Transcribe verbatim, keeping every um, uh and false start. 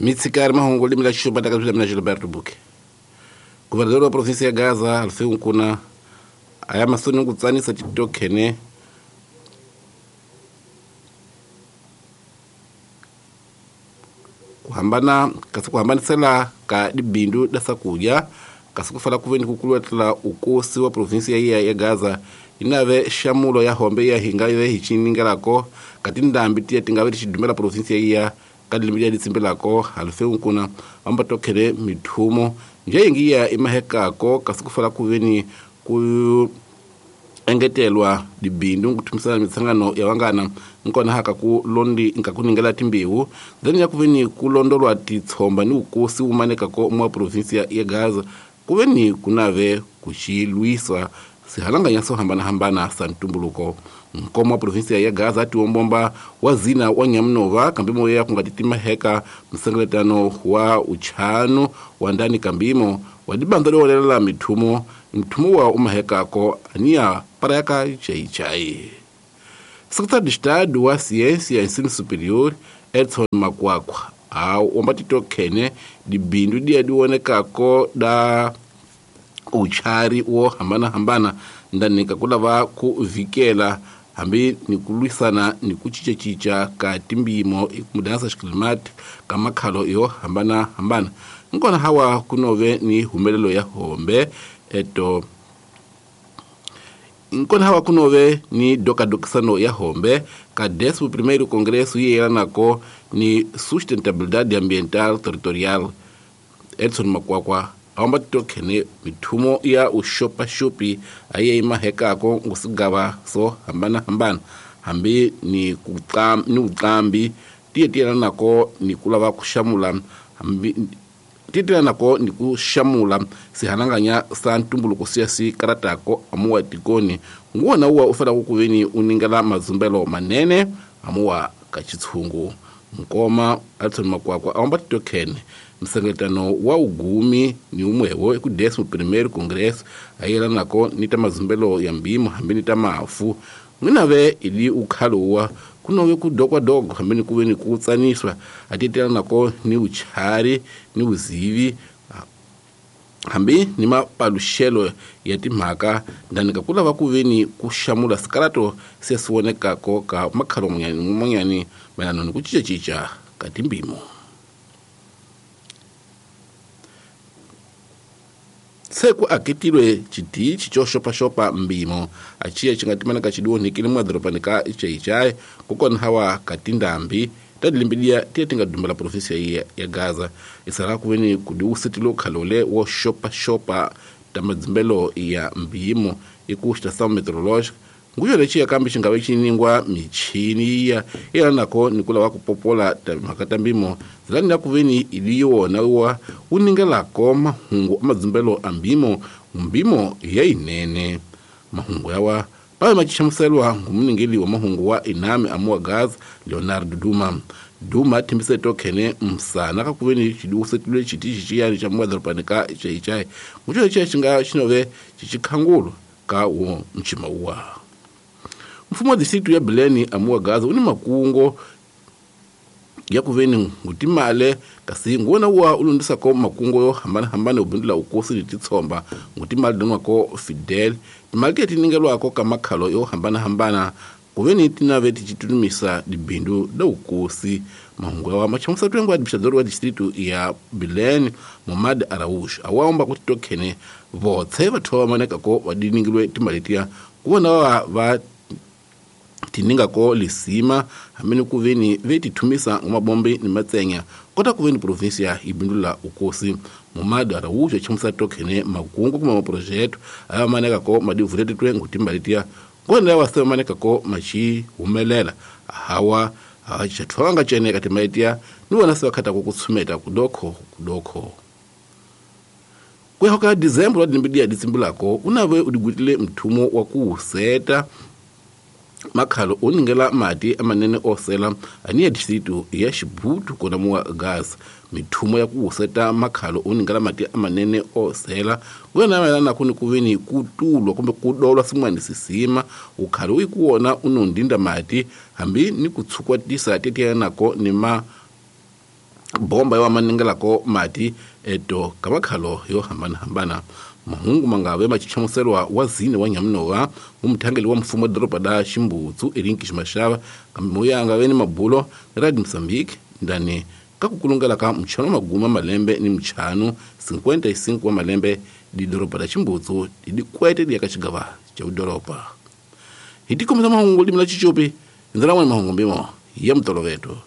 Mitsikari mahungu limi la xixupa taka bya mina Gilberto Buke. Governador wa província ya Gaza Alfeu Nkuna aya masoni ku tsanisa titokhene ku hambana kasi ku hambanisela ka dibindu da sakudya kasi ku fala ku veni ku kulwetla ukosi wa província ya ya Gaza inave xamulo ya hombe ya hinga yo hi chiningelako ka tindambi tiya tingave ti xidumela província ya ka dilimi ya ditsimbelako Alfeu Nkuna amba tokhele mithumo njengi ya imahekako kasi ku fala ku veni ku engetelwa dibindu kuthumisana mitsangano ya wangana nkona haka ku londi nka kuningela timbewu then ya kuveni kulondolwa titsomba ni ukosi umaneka ko mwa província ya Gaza kuveni kunave kuchilwiswa sihalanganya so hambana hambana sa ntumbuluko nkomo wa província ya Gaza atiwombomba wa zina wa Nyamunova kambimo ya kungatitima heka msengeletano wa uchano wa ndani kambimo wa dibanza lolela mithumo mthumo wa umahekako ania paraka chaichai. Secretário de Estado wa Ciência e Ensino Superior Edson Makwakwa au ombatito khene dibindu dia dionekako da uchari wo hambana hambana ndani kakulava ku vikela hambi ni kulwisana ni kuchichachicha ka timbimo ikudansa xiklimati ka makhalo yo hambana hambana nkona hawa kunove ni humelelo ya hombe eto nkona hawa kunove ni dokadokisano ya hombe ka décimo primeiro congresso yelanako ni sustentabilidade ambiental territorial Edson Makwakwa amba tokhene mithumo ya ushopashopi aye imahekako ngusigava so hambana hambana hambi ni kuqam ni uqambi tiye tiye nako ni kulava kushamula hambi tiye nako ni kushamula sihananganya sa ntumbuluko siya si karatako amuwa tikoni nguwona uwa ufela kukuveni uningela mazumbelo manene amuwa kachitshungu Nkoma Edson Makwakwa amba tokhene msengetano wa ugumi ni umwewo eku décimo primeiro congresso ayelanako ni ta mazumbelo ya mbimo hambi ni ta mafu n'winave ili ukhalowa kunove kudokwadoko hambi ni kuve ni kutsaniswa atitelanako ni uchari ni uzivi hambi ni mapaluxelo ya timhaka ndani ka kulava kuve ni kuxamula sikalato se swi vonekako ka makhalo man'wanyani mayelana ni ku cincacinca ka timbimo. Se ku aketilwe xitichi xo xopaxopa mbimo achiya xi nga timanaka xidionhekile mwadorobani ka Chaichai kokwana hawa ka tindhambi ta dilimbidiya tiya ti nga dumbela província ya, ya Gaza isala ku veni ku diwusitilo khalole wo xopaxopa ta madzimbelo ya mbimo i ku estação meteorológica nguyo lexiya kambe xi nga ve xi ningwa michini ya yelanako ni ku lava ku popola timhaka ta mbimo zilani ya ku veni ili yona wa wu ningelako mahungu a madzimbelo a mbimo mbimo ya yinene mahungu yawa pave maxihlamuselwa ngumuningeli wa mahungu wa inami amuwa Gaza Leonardo Duma Duma thimbise tokhene msana ka kuveni xidiwusetilwe xitichi xiyani xa mwadorobani ka Chaichai nguxo lexiya xi nga xinove xixikhangulu ka wo mchima wa mfumo wa distritu ya Bilene amuwa Gaza uni makungo ya kuveni ngutimale kasi nguwona wa ulundisako makungo yo hambana-hambana ubindula ukosi ni titsomba ngutimale donwako Fidel timali tiye tiningelwako ka makhalo yo hambana-hambana kuveni tinave tichitunumisa dibindu da ukosi mahungu yawa machamusa twengo administrador wa distritu ya Bilene Momad Araush awaomba kuti tokhene votse vathu va manekako vadiningilwe timali tiya kuwona va va tiningako lisima hamene kuveni vetithumisa ngomabombe ni matsenya kota kuveni província ibindula ukosi Momad Araujo chamusa tokhene makungu kuma maprojeto aya manekako madivuletetwe ngutimbalitia kona wa semanekako machi humelela hawa achathwanga cheneka timaitia ni wona sewakhata kukutsumeta kudokho kudokho kwehoka December wa dimbidia ditsimbulako unave udigutile mthumo wa kuuseta makhalo oningela mati amanene osela aniya distritu ya Xibutu kona muwa Gaza mithumo ya kuuseta makhalo oningela mati amanene osela kuyona mayelana kuni kuveni kutulwa kumbe kudolwa sin'wana sisima ukhalo uyikuwona unondinda mati hambi ni kutshukwatisa tetiyanako ni ma Bomba yo maningelako mati eto kamakhalo yo hambana-hambana. Mahungu mangave machichamuselwa wa zine wa Nyamunova mumthangeli wa mfumo wa doroba da Ximbutsu Elinki Ximashava kambe moya angave ni mabulo Radio Mozambique ndani ka kukulungela ka mchano maguma malembe ni mchano cinquenta e cinco wa malembe di doroba da Ximbutsu dikwete di ka xigava cha udoroba. Hitikomisa mahungu limela chichopi ndzela n'we mahungu mbimo ya mtoloveto.